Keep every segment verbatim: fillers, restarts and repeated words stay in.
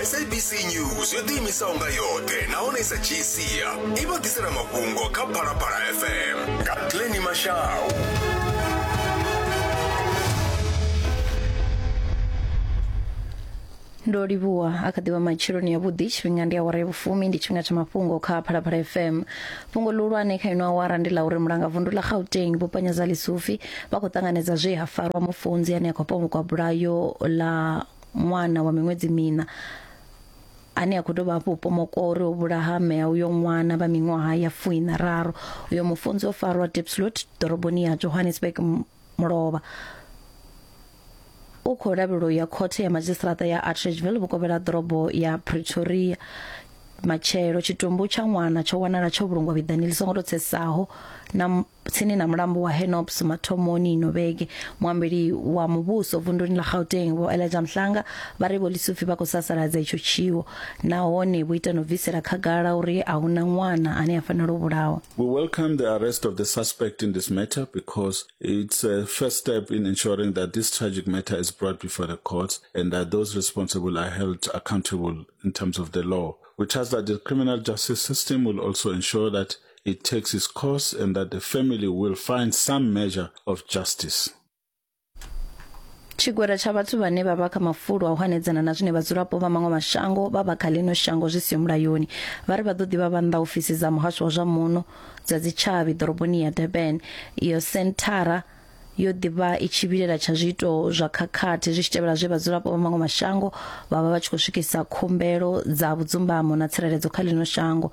S A B C News yo ḓiimisaho nga yoṱhe nahone i sa dzhii sia i vha ḓisela mafhungo kha Phalaphala F M nga Glenny Mashau. Ndo livhuwa a kha ḓivha matsheloni ya vhuḓi, tshifhinga ndi awara ya vhufumi, ndi tshifhinga tsha mafhungo kha Phalaphala F M. Fhungo ḽihulwane kha ino awara ndi ḽa uri mulanga vundu ḽa Gauteng Vho Panyaza Lesufi vha khou ṱanganedza zwe ha farwa mufunzi ane a khou pomokwa bulayo ḽa ṅwana wa miṅwedzi miṋa ane a khou dovha hafhu pomokwa uri o vhulaha mme a uyo ṅwana vha miṅwaha ya fuiṋa raru. Uyo mufunzi o farwa Diepsloot ḓoroboni ya Johannesburg mulovha. U khou lavhelelwa ya khothe ya madzhisiṱiraṱa ya Atteridgeville vhukovhela ḓorobo ya Pretoria. Matshelo tshitumbu tsha ṅwana tsho wanala tsho vhulungwa vhiḓani ḽi songo tou tsesaho na tsini na mulambo wa Henops mathomoni ino vhege. Muambeli wa muvhuso vunduni ḽa Gauteng Vho Elijah Mhlanga vha ri Vho Lesufi vha khou sasaladza itsho tshiwo nahone vho ita no bvisela khagala uri a huna ṅwana ane a fanela u vhulawa. We welcome the arrest of the suspect in this matter because it's a first step in ensuring that this tragic matter is brought before the courts and that those responsible are held accountable in terms of the law. We trust that the criminal justice system will also ensure that it takes its course and that the family will find some measure of justice. Tshigwada tsha vhathu vhane vha vha kha mafulo a u hanedzana na zwine vhadzulapo vha maṅwe mashango vha vha kha ḽino shango zwi siho mulayoni vha ri vha ḓo ḓivha vha nnḓa ofisi dza muhasho wa zwa muno dza dzitshavhi ḓoroboni ya Durban. Iyo senthara yo ḓivha i tshi vhilela tsha zwiito zwa khakhathi zwi tshi tevhela zwe vhadzulapo vha maṅwe mashango vha vha vha tshi khou swikisa khumbelo dza vhudzumbamo na tsireledzo kha ḽino shango.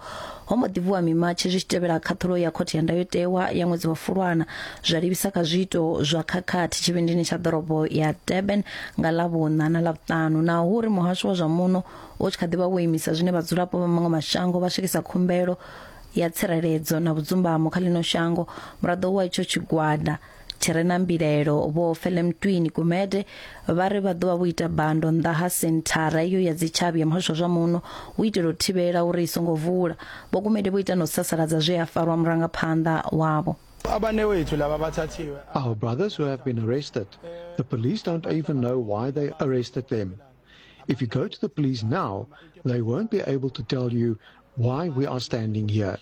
Ho mbo ḓi vuwa mimatshi zwi tshi tevhela khaṱhulo ya khothe ya ndayotewa ya ṅwedzi wa Fulwana zwa livhisa kha zwiito zwa khakhathi tshivhindini tsha ḓorobo ya Durban nga ḽavhuṋa na ḽavhuṱanu. Naho uri muhasho wa zwa muno u tshi kha ḓi vha wo imisa zwine vhadzulapo vha maṅwe mashango vha swikisa khumbelo ya tsireledzo na vhudzumbamo kha ḽino shango, muraḓo wa itsho tshigwada tshi re na mbilaelo Vho Felemtwini Gumede vha ri vha ḓo vha vho ita bando nnḓa ha senthara iyo ya dzitshavhi ya muhasho wa zwa muno u itela u thivhela uri i songo vula. Vho Gumede vho ita no sasaladza zwe a farwa murangaphanḓa wavho. Our brothers who have been arrested, the police don't even know why they arrested them. If you go to the police now, they won't be able to tell you why we are standing here.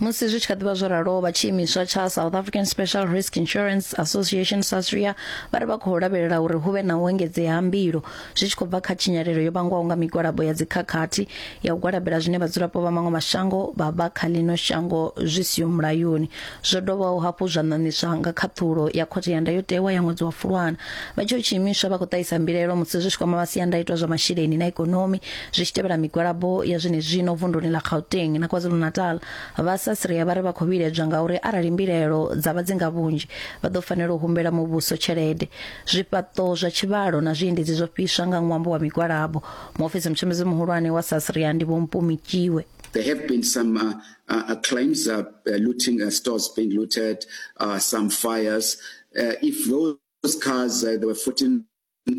Musi zwi tshi kha ḓivha zwo ralo, vha tshiimiswa tsha South African Special Risk Insurance Association SASRIA vha ri vha khou lavhelela uri hu vhe na u engedzea ha mbilo zwi tshi khou bva kha tshinyalelo yo vhangwaho nga migwalabo ya dzikhakhathi ya u gwalabela zwine vhadzulapo vha maṅwe mashango vha vha kha ḽino shango zwi siho mulayoni. Zwo dovhaho hafhu zwa ṋaṋiswa nga khaṱhulo ya khothe ya ndayotewa ya ṅwedzi wa Fulwana. Vha tsho tshiimiswa vha khou ṱahisa mbilaelo musi zwi tshi kwama masiandaitwa zwa masheleni na ikonomi zwi tshi tevhela migwalabo ya zwenezwino vunduni ḽa Gauteng na KwaZulu-Natal. Vha SASRIA vha ri vha khou vhiledzwa ngauri arali mbilaelo dza vha dzi nga vhunzhi vha ḓo fanela u humbela muvhuso tshelede. Zwifhaṱo zwa tshivhalo na zwiendedzi zwo fhiswa nga ṅwambo wa migwalabo. Muofisi mutshimbidzi muhulwane wa SASRIA ndi Vho Mpumi Kiwe. There have been some uh, uh, claims, uh, looting, uh, stores being looted, uh, some fires. Uh, if those cars, uh, there were fourteen,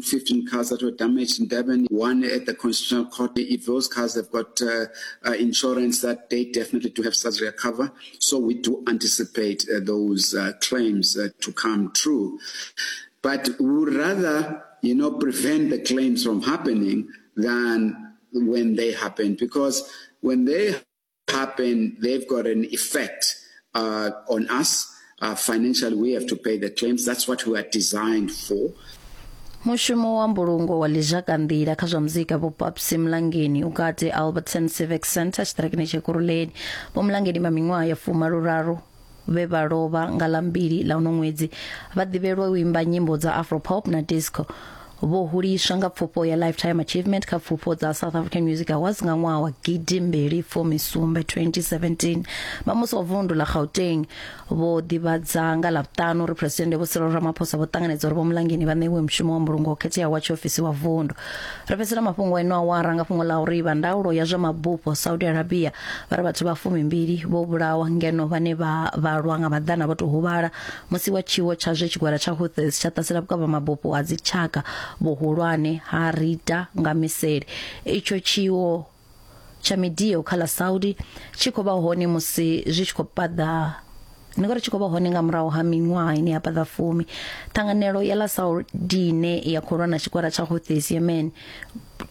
fifteen cars that were damaged in Durban, one at the Constitutional Court. If those cars have got uh, uh, insurance, that they definitely do have SASRIA cover. So we do anticipate uh, those uh, claims uh, to come true. But we would rather, you know, prevent the claims from happening than when they happen, because when they happen, they've got an effect uh, on us. Uh, financially, we have to pay the claims. That's what we are designed for. Mushumo wa mbulungo wa ḽizhakanḓila kha zwa muzika Vho Papsi Mlangeni u kati Alberton Civic Centre tshiṱirakini tsha Ekurhuleni. Vho Mlangeni vha miṅwaha ya fumaluraru vhe vha lovha nga ḽa mbili ḽa uno ṅwedzi vha ḓivhelwa u imba nyimbo dza afropop na disco. Vho huliswa nga pfufho ya Lifetime Achievement kha pfufho dza South African Music Awards nga ṅwaha wa gidi mbili fumi sumbe twenty seventeen. Vha musi wa vundu ḽa Gauteng vho ḓivhadza nga ḽavhuṱanu uri Presidennde Vho Cyril Ramaphosa vho ṱanganedza uri Vho Mlangeni vha ṋewe mushumo wa mbulungo wo khetheaho wa tshiofisi wa vundu. Ri fhedzisela mafhungo eno awara nga fhungo ḽa uri vha ndaulo ya zwa mabufho Saudi Arabia vha ri vhathu vha fumimbili vho vhulawa ngeno vhane vha vhalwa nga maḓana vho tou huvhala musi wa tshiwo tsha zwe tshigwada tsha Houthis tsha ṱasela vhukavha mabufho a dzitshaka vhuhulwane ha Rita nga miseli. Itsho tshiwo tsha midio kha ḽa Saudi tshi khou vha hone musi zwi tshi khou paḓa Ndi ngori tshi khou vha hone nga murahu ha miṅwaha ine ya paḓa fumi. Ṱhanganelo ya ḽa Saudi ine ya khou lwa na tshikwara tsha Houthis Yemen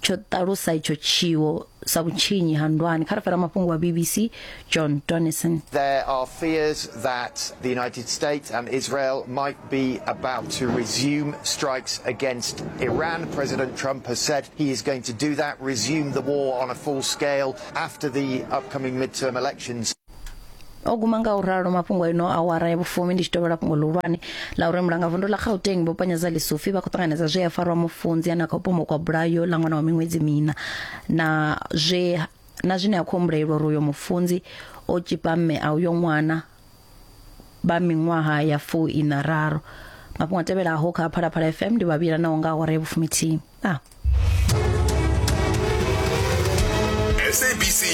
tsho ṱalusa itsho tshiwo sa vhutshinyi ha ndwani. Kha ri fara mafhungo wa B B C John Donnison. There are fears that the United States and Israel might be about to resume strikes against Iran. President Trump has said he is going to do that, resume the war on a full scale after the upcoming midterm elections. O guma nga u ralo mafhungo ino awara ya vhufumi ndi tshi tovhela fhungo ḽihulwane ḽa uri mulangavundu ḽa Gauteng vho Panyaza Lesufi vha khou ṱanganedza zwe ya farwa mufunzi ane a khou pomokwa bulayo ḽa ṅwana wa miṅwedzi mina na zwe na zwine a khou humbulelwa uri uyo mufunzi o tshipa mme a uyo ṅwana vha miṅwaha ya fuiṋa raru. Mafhungo a tevhelaho kha Phalaphala F M ndi vhavhila naho nga awara ya vhufumithihi. Ah. S A B C